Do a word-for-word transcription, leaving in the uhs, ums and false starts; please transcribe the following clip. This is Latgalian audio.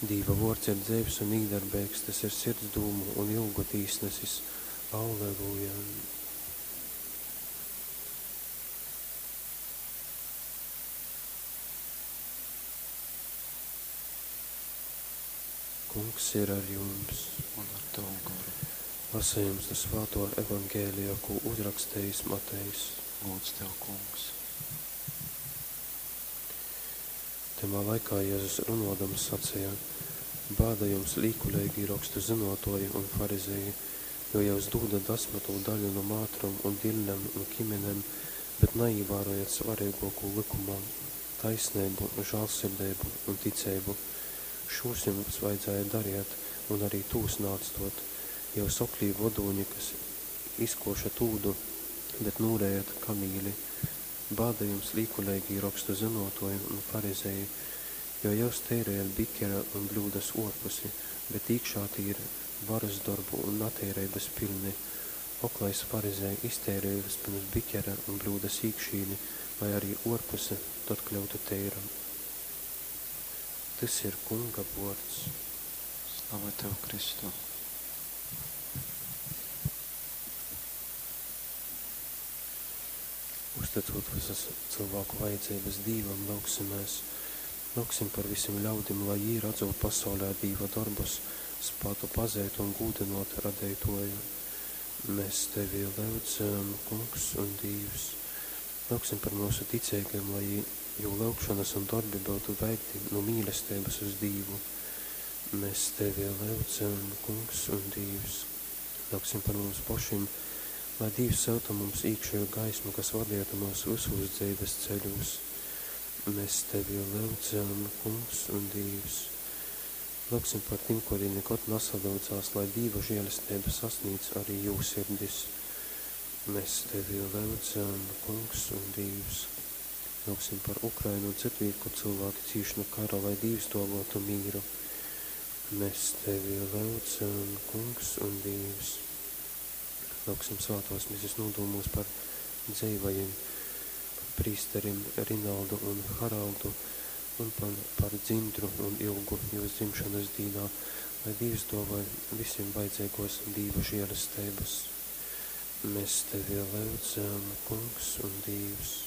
Dīva vuords ir dzeivs un īdarbeigs, tys ir sirds dūmu un ilgu tīsnesis. Alleluja! Kungs ir ar jums. Un ar tavu goru. Lasījums no Svāto Evangelija, ko uzrakstījis Matejs. Lūdz tev, Kungs. Tymā laikā Jēzus runodams sacīja: Bāda jums, līkuleigī rokstu zynuotuoji un farizeji, jo jyus dūdat dasmytū daļu nu mātrom un dillem un kiminem, bet naīvārojat svareiguokū lykumā – taisneibu, žālsirdeibu un ticeibu. Šūs jums vajadzēja dariet un arī tūs naatstuot. Jyus oklī vodūņi, kas izkošat ūdu, bet nūrejat kamīli. Bāda jums, līkuleigī rokstu zynuotuoji un farizeji, jo jyus teirejat bikera un bļūdas uorpusi, bet īkšā tī ir varas dorbu un nateireibys piļni. Oklais farizej, izteirej vyspyrms bikera un bļūdas īkšīni, lai arī uorpuse tod kļyutu teira. Tys ir Kunga vuords. Slava tev, Kristu! Uztycūt vysas cylvāku vajadzeibys Dīvam, lyugsimēs. Lyugsim par vysim ļaudim, lai jī, radzūt pasaulē Dīva dorbus, spātu pazeit un gūdynuot Radeituoju. Mēs Tevi lyudzam, Kungs un Dīvs. Lyugsim par myusu ticeigajim, lai jū lyugšonys un dorbi byutu veikti nu mīlesteibys uz Dīvu. Mēs Tevi lyudzam, Kungs un Dīvs. Lyugsim par mums pošim, lai Dīvs syuta mums īkšeju gaismu, kas vadietu myus vysūs dzeivis ceļūs. Mēs Tevi lyudzam, Kungs un Dīvs. Lyugsim par tim, kuri nikod nasalyudzās, lai Dīva žielesteiba sasnīdz arī jū sirdis. Mēs Tevi lyudzam, Kungs un Dīvs. Lyugsim par Ukrainu un cytvīt, kur cylvāki cīš nu kara, lai Dīvs duovuotu mīru. Mēs Tevi lyudzam, Kungs un Dīvs. Lyugsim svātuos misis nūdūmūs par dzeivajim, par prīsterim Rinaldu un Haraldu un par, par Dzintru un Ilgu jūs dzimšonys dīnā, lai Dīvs duovoj vysim vajadzeiguos Dīva žielesteibys. Mēs Tevi lyudzam, Kungs un Dīvs.